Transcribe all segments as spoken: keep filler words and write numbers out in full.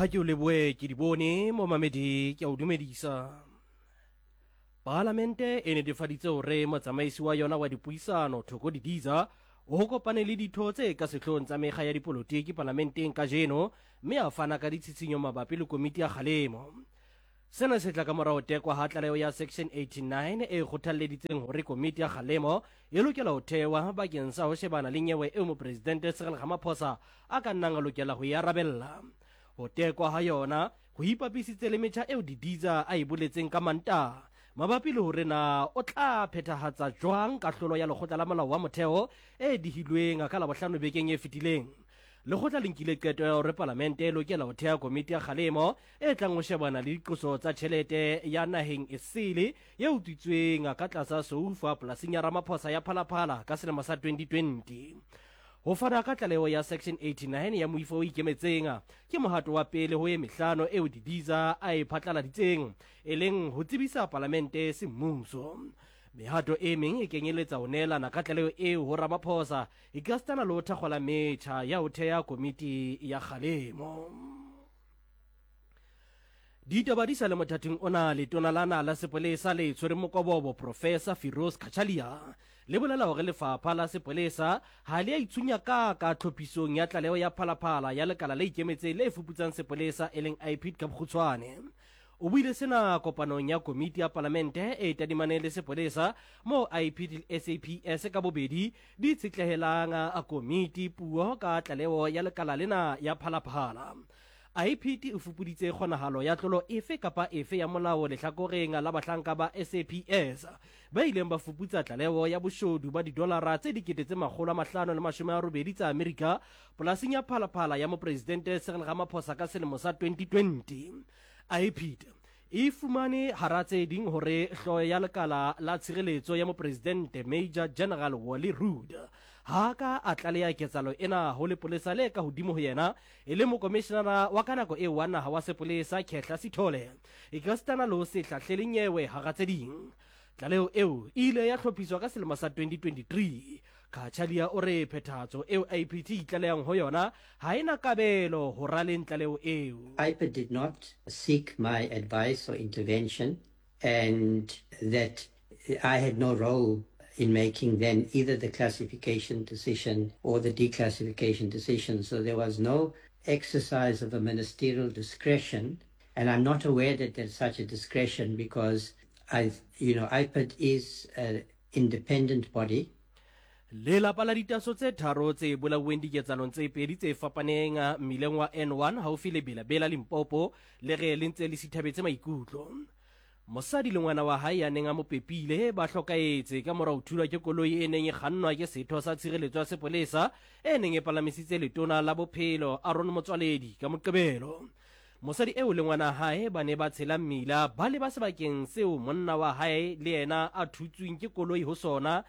Ha ke o leboe ke di bone momamedi, ke a o dumedisa. Palamente e netefaditse hore motsamaisi wa yona wa dipuisano Thoko Didiza o kopane le ditho tse ka sehloohong tsa mekga ya dipolotiki palamenteng kajeno, mme a fana ka ditshitshinyo mabapi le komiti ya kgalemo. Sena se tla ka mora ho tekwa ha tlaleho ya Section eighty-nine e kgothalleditseng hore komiti ya kgalemo e lokela ho thewa bakeng sa ho shebana le nyewe eo mopresidente Cyril Ramaphosa a ka nnang a lokela ho e arabella. Ho tekwa ha yona ho ipapisitse le metjha eo Didiza a e boletseng ka Mantaha mabapi le hore na o tla phethahatsa jwang kahlolo ya lekgotla la molao wa motheo e dihilweng ka Labohlano bekeng e fetileng. Lekgotla le nkile qeto ya hore palamente e lokela ho theha komiti ya kgalemo e tlang ho shebana le diqoso tsa tjhelete ya naheng esele e utswitsweng ka tlasa soufa polasing ya Ramaphosa ya Phalaphala ka selemo sa twenty twenty. Ho fana ka tlaleho ya Section eighty-nine ya moifo o ikemetseng ke mohato wa pele ho e mehlano eo Didiza a e phatlaladitseng, e leng ho tsebisa palamente semmuso. Mehato e meng e kenyeletsa ho neelana ka tlaleho eo ho Ramaphosa ekasitana le ho thakgola metjha ya ho theha komiti ya kgalemo. Ditaba di sa le mothating ona, letona la naha la sepolesa le tshwereng mokobobo Professor Firoz Cachalia le bolela hore lefapha la sepolesa ha le a itshunya ka ka tlhophisong ya tlaleho ya Phalaphala ya lekala le ikemetseng le fuputsang sepolesa e leng I P I D ka bokgutshwane. O buile sena kopanong ya komiti ya palamente e tadimaneng le sepolesa moo I P D le S A P S ka bobedi di itshetlehelang a komiti puo ka tlaleho ya lekala lena ya Phalaphala. I P D e fupuditse kgonahalo ya tlolo efe kapa efe ya molao lehlakoreng la bahlanka ba S A P S ba ileng ba fuputsa tlaleho ya boshodu ba didolara tse dikete tse makgolo a mahlano le mashome a robedi tsa Amerika polasing ya Phalaphala ya mopresidente Cyril Ramaphosa ka selemo sa twenty twenty. I P D e fumane hara tse ding hore hlooho ya lekala la tshireletso ya mopresidente Major General Wally Rhoode ha ka a tlaleha ketsahalo ena ho lepolesa le ka hodimo ho yena e le mokomishenara wa ka nako eo wa naha wa sepolesa Khehla Sithole ekasitana le ho se hlahlele nyewe hara tse ding. Tlaleho eo e ile ya hlophiswa ka selemo sa twenty twenty-three. Cachalia o re phethahatso eo I P D e itlalehang ho yona ha ena kabelo ho raleng tlaleho eo. I P D did not seek my advice or intervention, and that I had no role in making then either the classification decision or the declassification decision. So there was no exercise of a ministerial discretion, and I'm not aware that there's such a discretion because I, you know, I P D is an independent body. Lelapa la ditaso tse tharo tse bolauweng diketsahalong tse pedi tse fapaneng mmileng wa N one haufi le Bela-Bela Limpopo le re le ntse le sithabetse maikutlo. Mosadi le ngwana wa hae ya neng a mo pepile ba hlokahetse ka mora ho thulwa ke koloi e neng e kgannwa ke setho sa tshireletso ya sepolesa e neng e palamisitse letona la bophelo Aaron Motsoaledi ka Moqebelo. Mosadi eo le ngwana hae ba ne ba tshela mmila ba leba sebakeng seo monna wa hae le yena a thutsweng ke koloi ho sona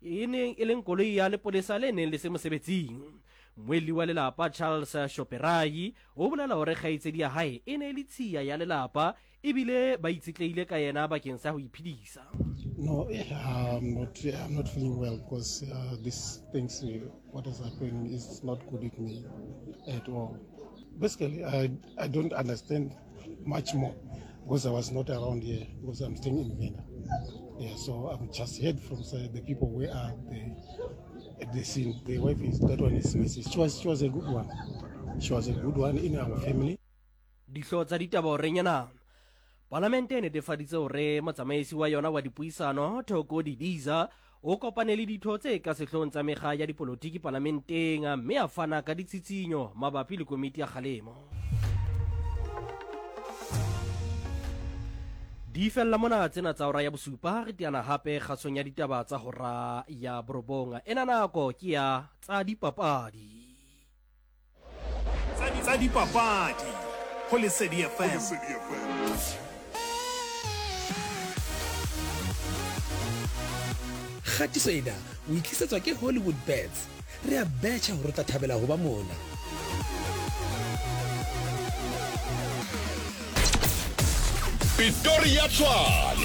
e neng e leng koloi ya lepolesa le neng le se mosebetsing. Mmuelli wa lelapa Charles Shoperai o bolela hore kgaitsedi ya hae e ne e le tshiya ya lelapa ebile ba itshetlehile ka yena bakeng sa ho iphedisa. No, I'm not, I'm not feeling well because uh, this things, what has happened is not good with me at all. Basically, I, I don't understand much more because I was not around here because I'm staying in Venda. Yeah, so I'm just heard from uh, the people where are the, at the scene. The wife is, that one is Missus She was, she was a good one. She was a good one in our family. Dihlooho tsa ditaba ho renyana. Palamente e netefaditse hore motsamaisi wa yona wa dipuisano Thoko Didiza o kopane le ditho tse ka sehloohong tsa mekga ya dipolotiki palamenteng mme a fana ka ditshitshinyo mabapi le komiti ya kgalemo. Di fella mona tsena tsa hora ya bosupa, re teana hape kgasong ya ditaba tsa hora ya borobong. Ena nako ke ya tsa dipapadi. Tsa dipapadi ho Lesedi F M. Kgatiso ena o itlisetswa ke Hollywood Bets. Re a betjha hore o tla thabela ho ba mona. Pretoria Tshwane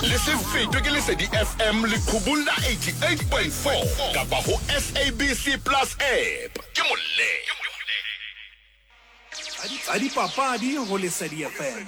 le se fetwe ke Lesedi F M leqhubung la eighty-eight point four kapa ho S A B C Plus app. Ke molle. Tsa dipapadi go Lesedi F M.